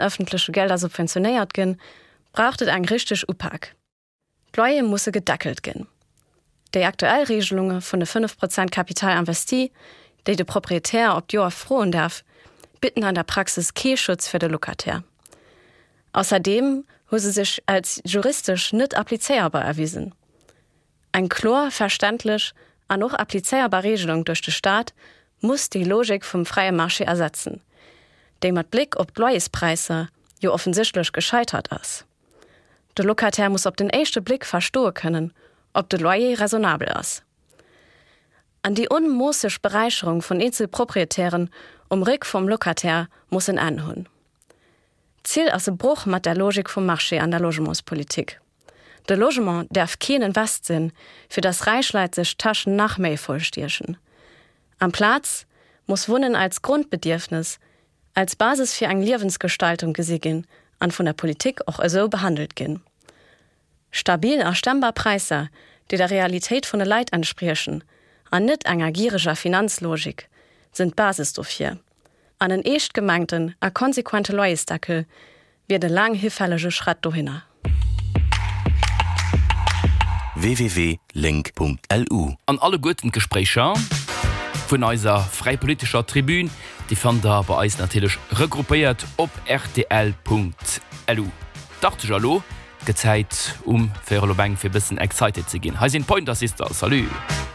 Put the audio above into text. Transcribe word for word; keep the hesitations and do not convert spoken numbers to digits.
ëffentleche Gelder subventionéiert ginn, braucht et eng richteg Upak. D'Loyere musse gedeckelt ginn. Déi aktuell Reegelunge vun de fënnef Prozent Capital investi, déi de Proprietär op d'Joer froen däerf, bidden an der Praxis kee Schutz fir de Locataire. Ausserdeem hu se sech als juristesch net applizéierbar erwisen. Eng kloer, verständlech an och applizéierbar Reegelung duerch de Staat muss déi Logik vum fräie Marché ersetzen, déi mat Bléck op d'Loyerspräisser jo offensichtlech gescheitert ass. De Locataire muss op den éischte Bléck verstoe kënnen, ob de Loyer raisonnabel ass. An déi onmoosseg Beräicherung vun eenzel Proprietären um Réck vum Locataire muss en Enn hunn. D'Zil ass e Broch mat der Logik vum Marché an der Logementspolitik. De Logement däerf keen Invest sinn, fir dass räich Leit sech d'Täschen nach méi vollstiechen. Amplaz muss Wunnen als Grondbedierfnes, als Basis fir eng Liewensgestaltung gesi ginn an vun der Politik och esou behandelt ginn. Stabil a stemmbar Präisser, déi der Realitéit vun de Leit entspriechen an net enger giereger Finanzlogik, sinn d'Basis dofir. An en eescht gemengten a konsequente Loyersdeckel wier de laang hifällege Schratt dohinner. www.link.lu. An alleguerten d'Gespréicher vun eiser fräi politescher Tribün, déi fannt der bei eis natierlech regroupéiert op rtl.lu. Dacht ech elo, et gëtt Zäit um véierel op eng fir e bëssen excited ze ginn. Hei sinn d'Pointer Sisters. Salut!